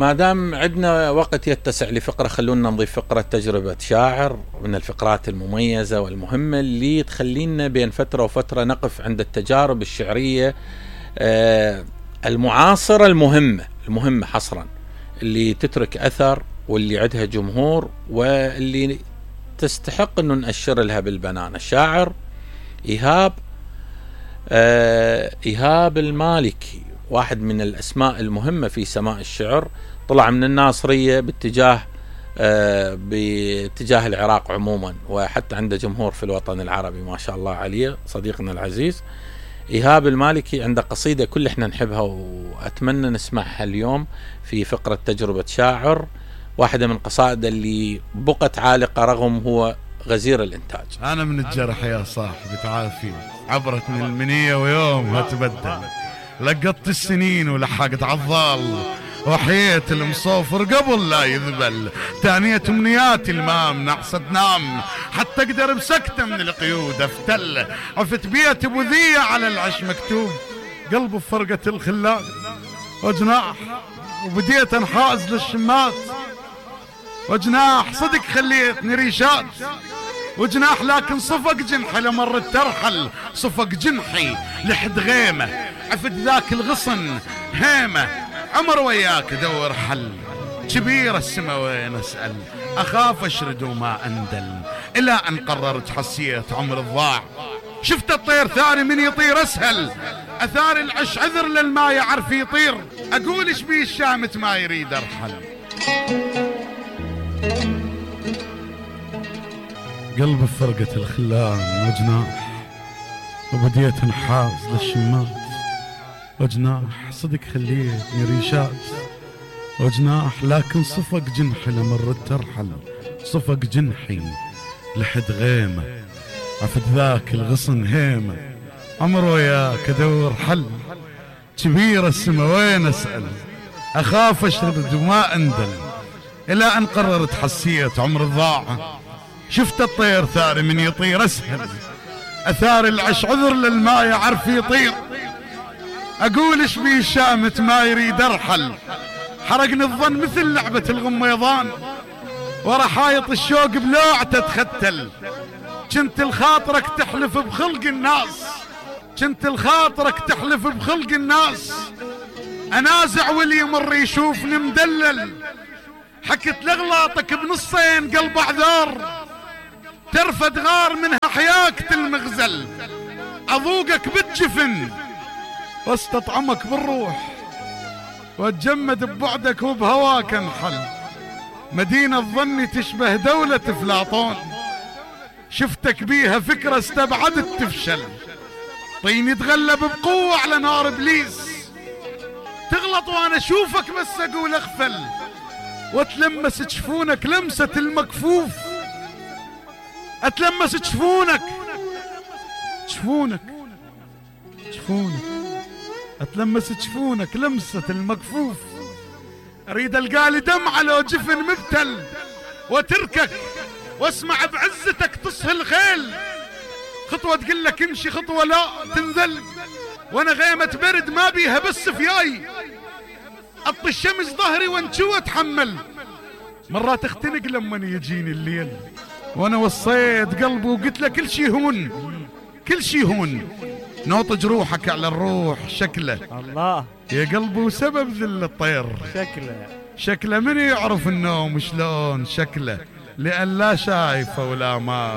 ما دام عندنا وقت يتسع لفقرة، خلونا نضيف فقرة تجربة شاعر من الفقرات المميزة والمهمة اللي تخلينا بين فترة وفترة نقف عند التجارب الشعرية المعاصرة المهمة حصرا، اللي تترك أثر واللي عندها جمهور واللي تستحق أنه نأشر لها بالبنان. الشاعر إيهاب المالكي، واحد من الأسماء المهمة في سماء الشعر، طلع من الناصرية باتجاه العراق عموما، وحتى عنده جمهور في الوطن العربي ما شاء الله عليه. صديقنا العزيز إيهاب المالكي عنده قصيدة كل احنا نحبها وأتمنى نسمعها اليوم في فقرة تجربة شاعر، واحدة من قصائد اللي بقت عالقة رغم هو غزير الإنتاج. أنا من الجرح يا صاحبي تعافي، عبرت من المنية ويومها تبدل، لقطت السنين ولحقت عالظال، وحيت المصوفر قبل لا يذبل، تانية امنياتي المام نعصت نام، حتى اقدر بسكتة من القيود افتل، عفت بيت ابو ذية على العش مكتوب، قلب بفرقة الخلال وجناح، وبديت انحاز للشمات وجناح، صدق خليتني ريشات وجناح، لكن صفق جنحي لمرت ترحل، صفق جنحي لحد غيمة، عفت ذاك الغصن هيمة، عمر وياك دور حل، كبير السما وين اسأل، اخاف اشرد وما اندل، الى ان قررت حسيت عمر الضاع، شفت الطير ثاني من يطير اسهل، اثار العش عذر للما يعرف يطير، اقول ايش بيه الشامت ما يريد ارحل. قلب فرقة الخلان وجناح، وبديت انحاز للشمات وجناح، صدق خليتني ريشات وجناح، لكن صفق جنحي لمرت ترحل، صفق جنحي لحد غيمة، عفت ذاك الغصن هيمة، عمر وياك ادور حل، كبير السما وين اسأل، اخاف اشرد وما اندل، الى ان قررت حسيت عمر الضاعة، شفت الطير ثاني من يطير اسهل، اثار العش عذر للما يعرف يطير، اقول ايش بيه الشامت ما يريد ارحل، حرقني الظن مثل لعبة الغميضان، ورا حايط الشوق بلوعته تختل، كنت الخاطرك تحلف بخلق الناس، كنت الخاطرك تحلف بخلق الناس، انازع واللي يمر يشوفني مدلل، حكت لاغلاطك بنصين قلب اعذار، ترفد غار منها حياك المغزل، اذوقك بالجفن واستطعمك بالروح، واتجمد ببعدك وبهواك انحل، مدينة ظني تشبه دولة افلاطون، شفتك بيها فكرة استبعدت تفشل، طيني تغلب بقوة على نار ابليس، تغلط وانا اشوفك بس اقول اغفل، واتلمس جفونك لمسة المكفوف، اتلمس جفونك اتلمس جفونك لمسة المكفوف، اريد القالي دمعة لو جفن مبتل، وتركك واسمع بعزتك تصهي الخيل، خطوة تقول لك امشي خطوة لا تنزل، وانا غيمة برد ما بيها بس فياي، اطي الشمس ظهري وانشوى اتحمل، مرات اختنق لما يجيني الليل، وانا وصيت قلبي وقلت له كل شي هون، نوط جروحك على الروح شكله الله يا قلبي، وسبب ذل الطير شكله من يعرف النوم شلون شكله، لأن لا شايفه ولا ما